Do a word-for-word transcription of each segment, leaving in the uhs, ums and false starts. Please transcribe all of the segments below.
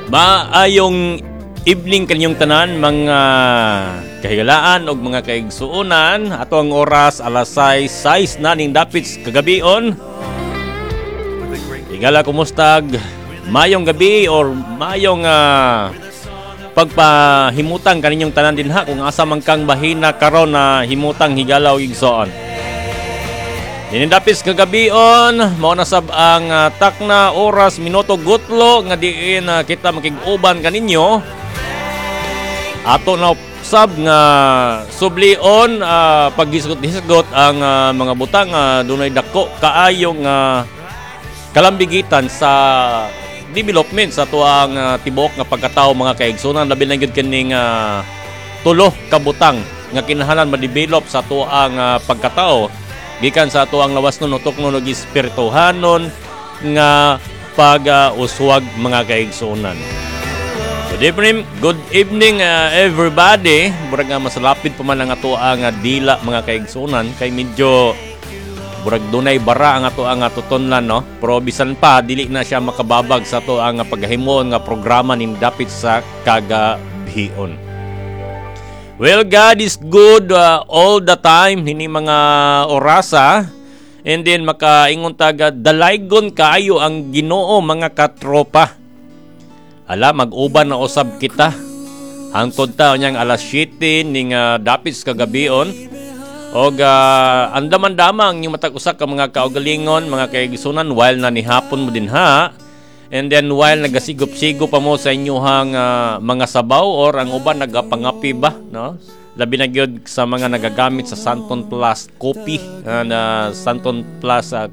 Maayong evening kaninyong tanan, mga kahigalaan og mga kaigsuonan. Ato ang oras, alas sais, sais na ning dapit kagabion. Higala, kumustag mayong gabi or mayong uh, pagpahimutang kaninyong tanan dinha kung asa man kang bahina karon na himutang, higala og igsoon. Dinindapis kagabion, mao na sab ang uh, takna oras, minuto, gutlo nga diin uh, kita makig-uban kaninyo. Ato na sab nga sublion uh, paghisgot-hisgot ang uh, mga butang uh, dunay dako kaayo nga kalambigitan sa development sa tuang uh, tibuok nga pagkatao, mga kaigsunan, labi na gyud kining uh, tulo ka butang nga kinahanglan ma-develop sa tuang uh, pagkatao gikan sa atuang lawas nun, utok nun ug espirituhanon nga pag-uswag, mga kaigsunan. Good evening, good evening uh, everybody. Murag nga masalapid pa man ang atoang uh, dila, mga kaigsunan, kay medyo murag dunay bara ang ato ang tutunlan, no. Pero bisan pa, dili na siya makababag sa ato ang paghimon nga programa ning dapit sa kagabion. Well, God is good uh, all the time hini mga orasa. And then makaingon taga dalaygon kaayo ang Ginoo, mga katropa. Ala, mag-uban na usab kita. Hangtod ta unyang alas siyete ning uh, dapit sa kagabion. Og uh, andaman-dama ang inyong matag usa ka mga kaugalingon, mga kaigsunan, while na nihapon mo din ha. And then while nagasigop-sigop pa mo sa inyuhang uh, mga sabaw or ang uban nagapangapi ba, no? Labi na gyud sa mga nagagamit sa Santon Plus Coffee uh, na Santon Plus uh,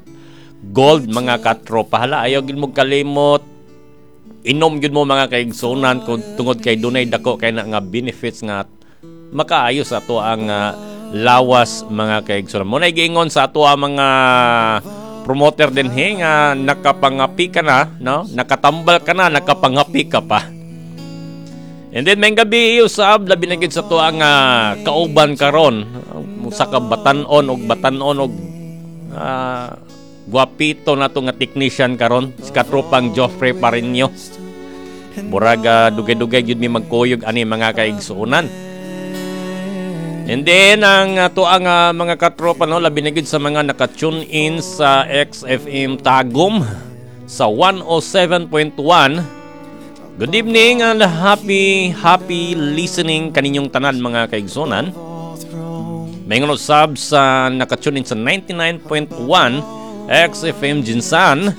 Gold, mga katropa. Hala, ayaw gyud mo kalimot. Inom gyud mo, mga kaigsunan, kung tungod kay dunay dako kay na nga benefits nga makaayo sa ato ang uh, lawas, mga kaigsunan. Mo na giingon sa ato ang mga promoter din he nga nakapangapi ka na, no? Nakatambal ka na, nakapangapi ka pa. And then may gabi usab, labi na gyud sa ato ang uh, kauban karon, usa ka batan-on og batan-on og uh, guwapito na to nga technician karon, si katropang Joffrey Parinyo. Murag uh, dugay-dugay gyud mi magkuyog ani, mga kaigsuonan. And then ang ato ang uh, mga katropa, no, labi na gyud sa mga naka-tune in sa X F M Tagum sa one oh seven point one. Good evening and happy happy listening kaninyong tanan, mga kaigsunan. May sab sa naka-tune in sa ninety-nine point one X F M GenSan.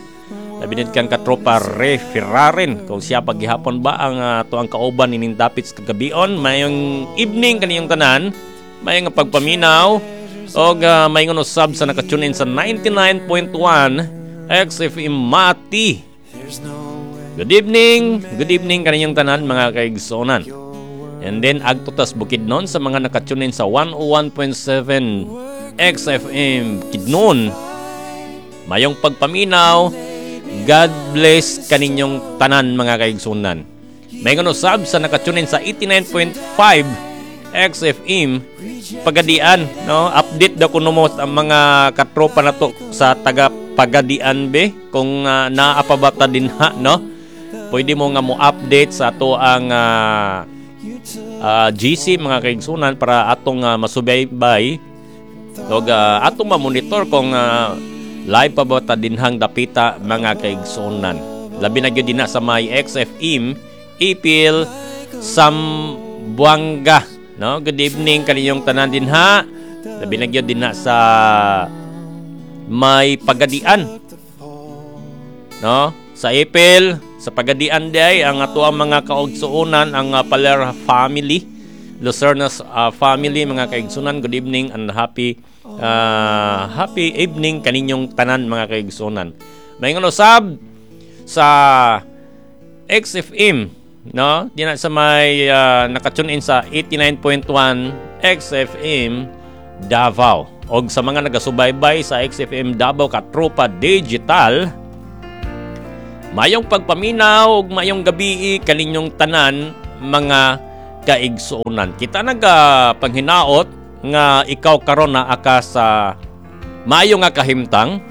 Labi na kang katropa Ray Ferraren. Kung siya paghihapon ba ang uh, tuang kauban ining dapit sa kagabion. Mayong evening kaniyong tanan. Mayong pagpaminaw. Og uh, mayong usab sa naka-tune in sa ninety-nine point one X F M Mati. Good evening. Good evening kaninyong tanan, mga kaigsonan. And then agto tas Bukidnon sa mga naka-tune in sa one oh one point seven X F M Bukidnon. Mayong pagpaminaw. God bless kaninyong tanan, mga kaigsunan. May usab sa naka-tune in sa eighty-nine point five X F M Pagadian, no? Update daw kuno mo ang mga katropa na to sa taga Pagadian be kung uh, naa pa ba ta din ha, no? Pwede mo nga mo update sa ato ang uh, uh, G C, mga kaigsunan, para atong uh, masubaybay og uh, atong ma-monitor kung uh, live pa ba ta dinhang dapita, mga kaigsunan. Labi na gyud dinha sa may X F M Ipil, Zamboanga, no? Good evening kaninyong tanan dinha. Labi na gyud dinha sa may Pagadian. No? Sa Ipil, sa Pagadian day ang ato ang mga kaugsuonan, ang uh, Paler family, Lucernas uh, family, mga kaigsunan. Good evening and happy uh, happy evening kaninyong tanan, mga kaigsunan. May usab sa X F M, no, dina sa may uh, naka-tune in sa eighty-nine point one X F M Davao og sa mga nagasubaybay sa X F M Davao Katropa Digital. Mayong pagpaminaw ug mayong gabi kaninyong tanan, mga kaigsuonan. Kita naga panghinaot nga ikaw karon naa ka sa maayo nga kahimtang.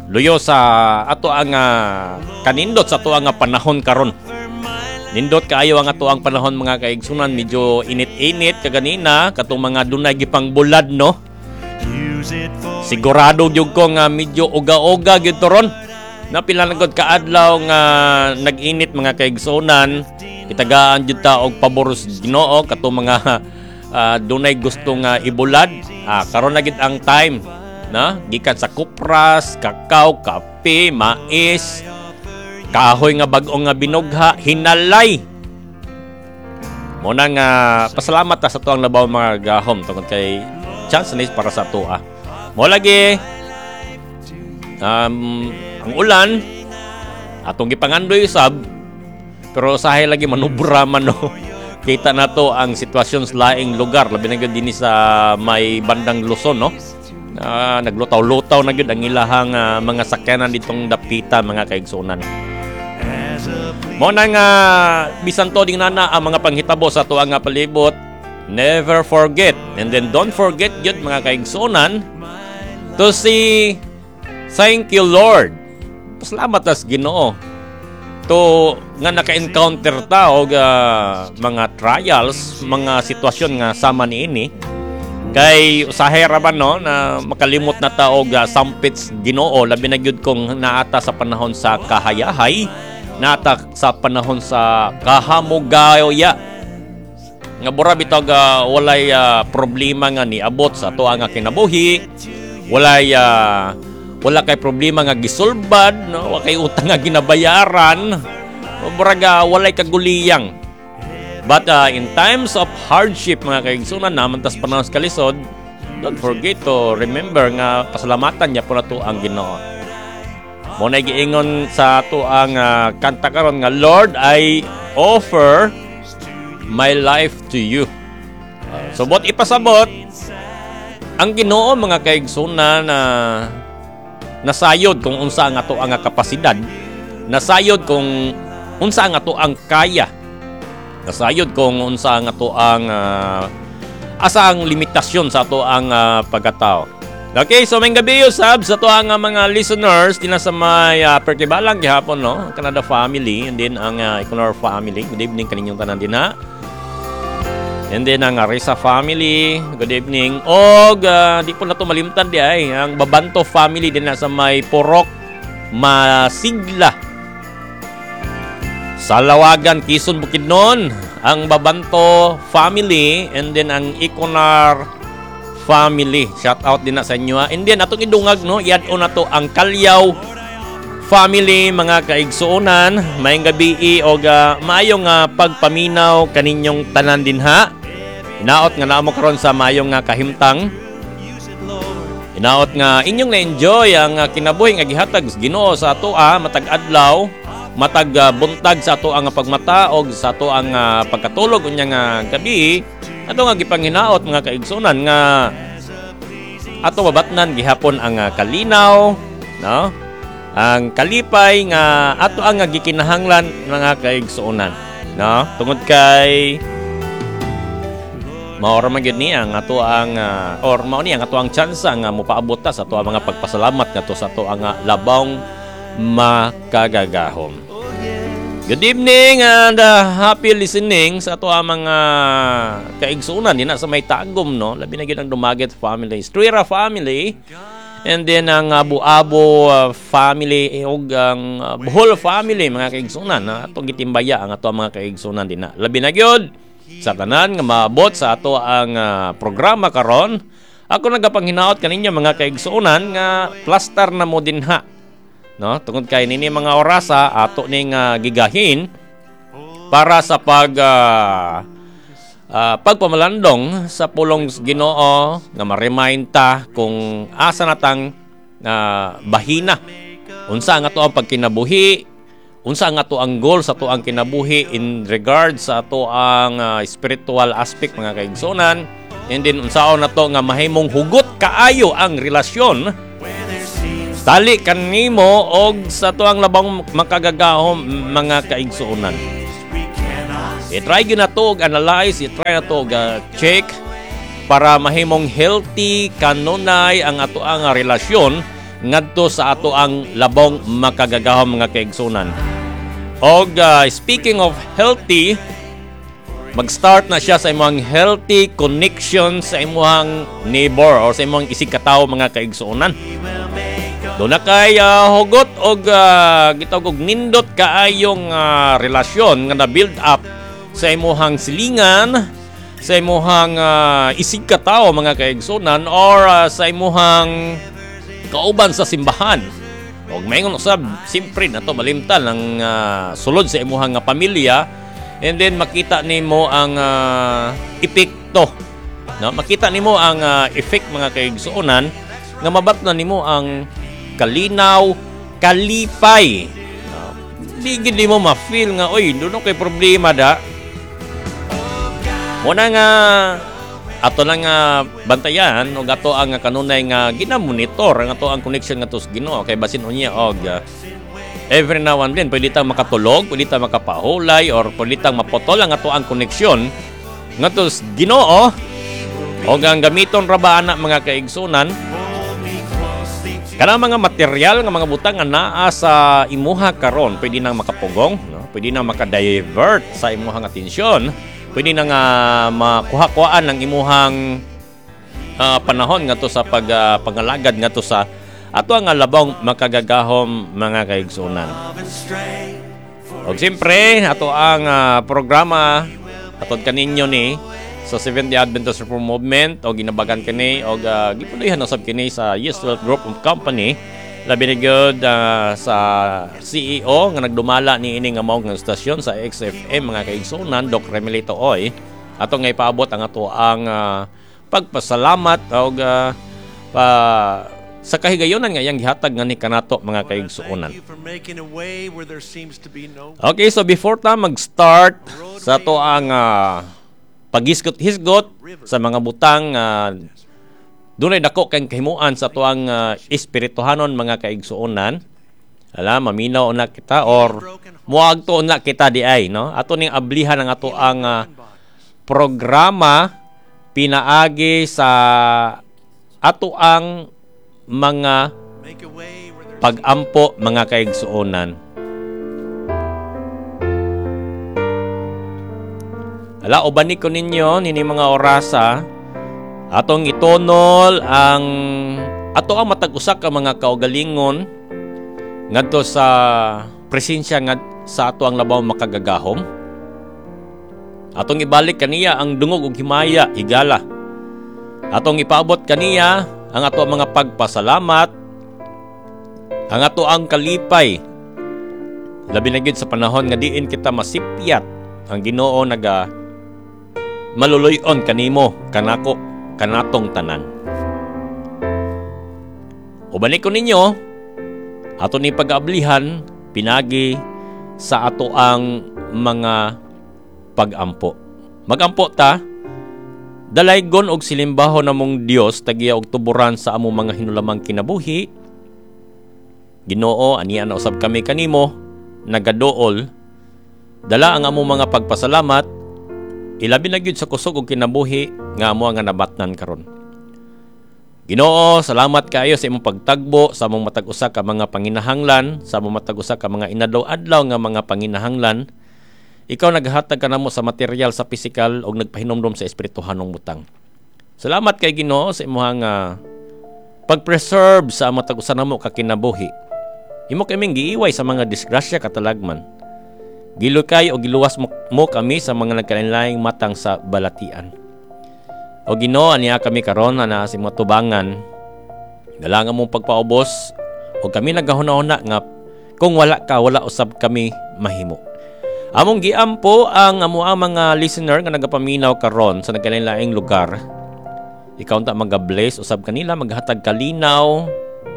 Luyo sa ato ang uh, kanindot sa ato ang panahon karon. Nindot kaayo ang ato ang panahon, mga kaigsunan, medyo init-init kaganina katong mga dunay gipang bulad, no. Sigurado gyud ko nga medyo uga-uga gyud to ron. Napila na gud kaadlaw nga nag-init, mga kaigsunan. Itagaan jud ta og pabor sa Ginoo katong mga uh, dunay gusto nga ibulad. Ah, karon na gid ang time na gikan sa kopras, kakao, kape, mais, kahoy nga bag-o nga binugha, hinalay. Mo na nga pasalamat ta sa tuang labaw mga gahom tungod kay chance ni para sa atoa. Mo lagi um, ang ulan atong gipangandoy sab, pero usahay lagi manubra man, no. Kita na to ang sitwasyon sa laing lugar, labi na gyud dinhi sa may bandang Luzon, no. Uh, naglutaw-lutaw na gyud ang ilahang uh, mga sakyanan ditong dapita, mga kaigsunan. Mo na nga bisan to ding nana ang mga panghitabo sa tuang nga palibot, never forget and then don't forget gyud, mga kaigsunan, to say thank you, Lord. Pasalamat tas Ginoo to nga naka-encounter ta og uh, mga trials, mga sitwasyon nga sama niini, kay usahay ra ba, no, na makalimot na ta og uh, sampit Ginoo, labi na gyud kung naata sa panahon sa kahayahay, naata sa panahon sa kahamugaya nga bura bitaw uh, walay uh, problema nga niabot sa ato nga kinabuhi, walay uh, wala kay problema nga gisulbad, no, wa kay utang nga ginabayaran, murag uh, walay kaguliyang. But uh, in times of hardship, mga kaigsunan, naman tas panahon sa kalisod, don't forget to remember nga pasalamatan niya po na to ang Ginoo. Mo na giingon sa ato ang uh, kanta karon nga, "Lord, I offer my life to you." Uh, so bot ipasabot ang Ginoo, mga kaigsunan, na nasayod kung unsa ang ato ang kapasidad, nasayod kung unsa ang ato ang kaya, nasayod kung unsa ang ato ang uh, asa ang limitasyon sa ato ang uh, pagkatao. Okay, so may gabi sab sa ato ang uh, mga listeners dinha sa may uh, Pertibalang gihapon, no, Canada family and then ang uh, Econor family. Good evening kaninyong tanan dinha. And then ang Arisa family, good evening. Og uh, di po na to malimtan di ay ang Babanto family din sa may Porok Masigla sa Lawagan, Quezon, Bukidnon, ang Babanto family and then ang Iconar family. Shout out din na sa inyo. Ha. And then atong idungag, no, i-add na to ang Kalyaw family, mga kaigsuonan. Maayong gabi og uh, maayong uh, pagpaminaw kaninyong tanan dinha. Hinaot nga naa mo karon sa maayong nga kahimtang. Hinaot nga inyong na-enjoy ang uh, kinabuhi nga gihatag sa Ginoo sa atoa matag adlaw, matag uh, buntag sa ato ang pagmata og sa ato ang uh, pagkatulog unya nga gabi. Ato nga gipanghinaot, mga kaigsunan, nga ato mabatnan gihapon ang uh, kalinaw, no, ang kalipay nga ato ang gikinahanglan, mga kaigsuonan, no, tungod kay mao ra man gyud ni ang ato ang uh, or mao ni ang ato ang tsansa nga mopaabot ta sa ato ang mga pagpasalamat ngadto sa ato ang uh, labawng makagagahom. Good evening and uh, happy listening sa ato ang mga kaigsunan din sa may Tagum, no. Labi na gyud ang Dumaget family, Estrera family, and then ang uh, Buabo uh, family ug ang uh, Bohol family, mga kaigsunan na atong gitimbaya ang ato ang mga kaigsunan din na. Labi na gyud sa tanan nga maabot sa ato ang uh, programa karon. Ako nagapanghinaot kaninyo, mga kaigsuonan, nga plastar na mo dinha, no, tungod kay nini mga orasa ato ning uh, gigahin para sa pag uh, uh, pagpamalandong sa pulong Ginoo nga ma-remind ta kung asa natang uh, bahina, unsa ang ato ang pagkinabuhi, unsa ang ato ang goal sa ato ang kinabuhi in regards sa ato ang uh, spiritual aspect, mga kaigsunan, and then unsaon nato nga mahimong hugot kaayo ang relasyon tali kanimo og sa ato ang labang makagagahom, mga kaigsuonan. I-try gyud nato og analyze, i-try nato og uh, check para mahimong healthy kanunay ang ato ang relasyon ngadto sa ato ang labong makagagahom, mga kaigsunan. Og uh, speaking of healthy, mag-start na siya sa imong healthy connection sa imong neighbor or sa imong isig katawo, mga kaigsuonan. Doon na kay uh, hugot og uh, gitawag og nindot kaayong uh, relasyon nga na-build up sa imuhang silingan, sa imuhang uh, isig katawo, mga kaigsuonan, or uh, sa imuhang kauban sa simbahan. Og maingon usab, simpre na to malimtan ang uh, sulod sa imuhang nga pamilya, and then makita nimo ang uh, epekto. No, makita nimo ang uh, effect, mga kaigsuonan, nga mabatnan nimo ang kalinaw, kalipay. No? Di gid nimo ma-feel nga, oy, doon kay problema da. Muna nga ato lang nga bantayan og ato ang kanunay nga ginamonitor ang ato ang connection ngadto sa Ginoo, kay basin unya og uh, every now and then pwede tang makatulog, pwede tang makapahulay, or pwede tang maputol ang ato ang koneksyon ngadto sa Ginoo. Og ang gamiton ra ba ana, mga kaigsunan, kanang mga material nga mga butang nga naa sa imuha karon, pwede nang makapugong, no? Pwede nang makadivert sa imuhang atensyon, pwede na nga makuha-kuhaan ang imuhang uh, panahon ngadto sa pag uh, pangalagad ngadto sa ato ang labong makagagahom, mga kaigsunan. Og siyempre, ato ang uh, programa atod kaninyo ni sa Seventh-day Adventist Reform Movement o ginabagan kini og uh, gipuloyhan usab kini sa Yes Wealth Group of Company, labi na gyud uh, sa C E O nga nagdumala ni ini nga mao nga estasyon sa X F M, mga kaigsunan, Doc Remelito Oy. Ato nga ipaabot ang ato ang uh, pagpasalamat og uh, pa sa kahigayonan nga iyang gihatag nga ni kanato, mga kaigsuonan. Okay, so before ta mag-start sa ato ang uh, paghisgot-hisgot sa mga butang uh, dunay dako kay kahimuan sa atuang uh, espirituhanon, mga kaigsuonan. Ala, maminaw na kita or muagto na kita di ay, no? Ato ning ablihan ang ato ang uh, programa pinaagi sa ato ang mga pagampo, mga kaigsuonan. Ala, ubani ko ninyo nini mga orasa, atong itunol ang ato ang matag usa ka mga kaugalingon ngadto sa presensya nga sa ato ang labaw makagagahom. Atong ibalik kaniya ang dungog ug himaya, higala. Atong ipaabot kaniya ang ato ang mga pagpasalamat, ang ato ang kalipay. Labi na gyud sa panahon nga diin kita masipyat, ang Ginoo naga maluluy-on kanimo, kanako, kanatong tanan. Ubani ko ninyo, ato ni pag-ablihan, pinagi sa ato ang mga pagampo. Magampo ta. Dalaygon og silimbahon namong Dios, tagiya og tuburan sa among mga hinulamang kinabuhi. Ginoo, anian na usab kami kanimo nagaduol. Dala ang among mga pagpasalamat, ilabi na gyud sa kusog og kinabuhi nga amo nga nabatnan karon. Ginoo, salamat kaayo sa imong pagtagbo sa among matag usa ka mga panginahanglan, sa among matag usa ka mga inadlaw-adlaw nga mga panginahanglan. Ikaw naghatag kanamo sa material, sa pisikal, og nagpahinomdom sa espirituhanong butang. Salamat kay Ginoo sa imong uh, pag-preserve sa among matag usa namo ka kinabuhi. Imo kaming giiway sa mga disgrasya katalagman. Gilukay o giluwas mo, mo kami sa mga nagkalainlaing matang sa balatian. O Ginoo, aniya kami karon na sa imong tubangan. Dala nga mong pagpaubos o kami nagahuna-huna nga kung wala ka, wala usab kami mahimo. Among giampo ang amo ang mga listener nga nagapaminaw karon sa nagkalainlaing lugar. Ikaw unta magabless usab kanila, maghatag kalinaw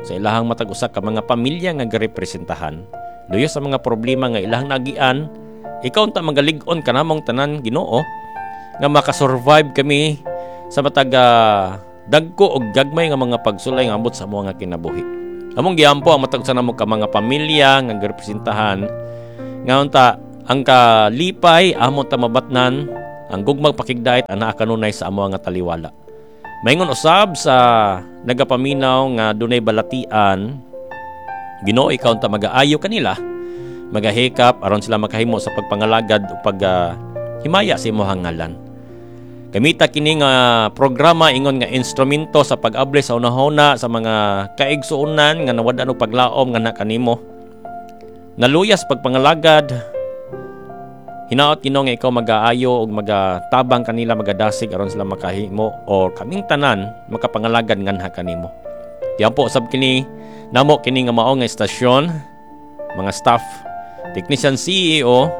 sa ilahang matag usa ka mga pamilya nga garepresentahan. Luyo sa mga problema nga ilahang nagian, ikaw unta magalig-on kanamong tanan, Ginoo, nga makasurvive kami sa matag uh, dagko og gagmay nga mga pagsulay nga ambot sa amo nga kinabuhi. Among giampo ang matag usa namo ka mga pamilya nga garepresentahan nga unta ang kalipay amo ta mabatnan, ang gugmag pakigdait anaa kanunay sa amo nga taliwala. Maingon usab sa nagapaminaw nga dunay balatian, Ginoo, ikaw unta magaayo kanila, magahikap aron sila makahimo sa pagpangalagad o pag uh, himaya sa imong ngalan. Gamita kini nga programa ingon nga instrumento sa pag-abli sa unahuna sa mga kaigsuonan nga nawad-an og paglaom nga kanimo. Naluyas pagpangalagad. Hinaot, Ginoo, nga ikaw magaayo og magatabang kanila, magadasig aron sila makahimo o kaming tanan makapangalagad nganha kanimo. Diyan po sab kini namo kini nga mao nga istasyon, mga staff, technician, C E O,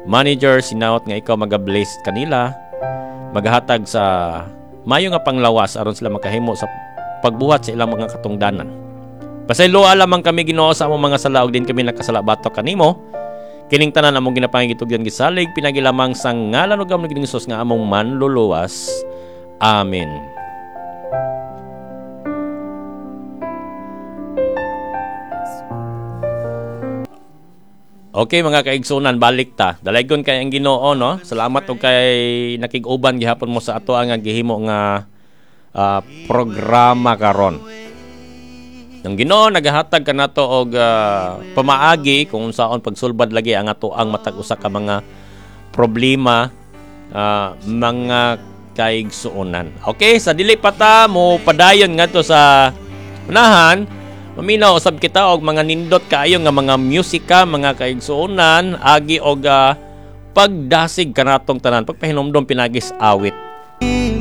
manager, hinaot nga ikaw maga-bless kanila, maghatag sa mayo nga panglawas aron sila makahimo sa pagbuhat sa ilang mga katungdanan. Pasayloa lamang kami, Ginoo, sa among mga sala ug din kami nakasala batok kanimo. Kining tanan among ginapangitugyan, gisalig pinagi lamang sa ngalan ug among Ginoong Hesus nga among manluluwas. Amen. Okay, mga kaigsunan, balik ta. Dalaygon kay ang Ginoo, no. Salamat og kay nakig-uban gihapon mo sa ato ang gihimo nga uh, programa karon. Ang Ginoo nagahatag kanato og uh, pamaagi kung unsaon pagsulbad lagi ang ato ang matag usa ka mga problema, uh, mga kaigsuonan. Okay, sa dili pa ta mo padayon ngadto sa unahan, maminaw usab kita og mga nindot kaayo nga mga musika, mga kaigsuonan, agi og uh, pagdasig kanatong tanan, pagpahinumdom pinagis awit.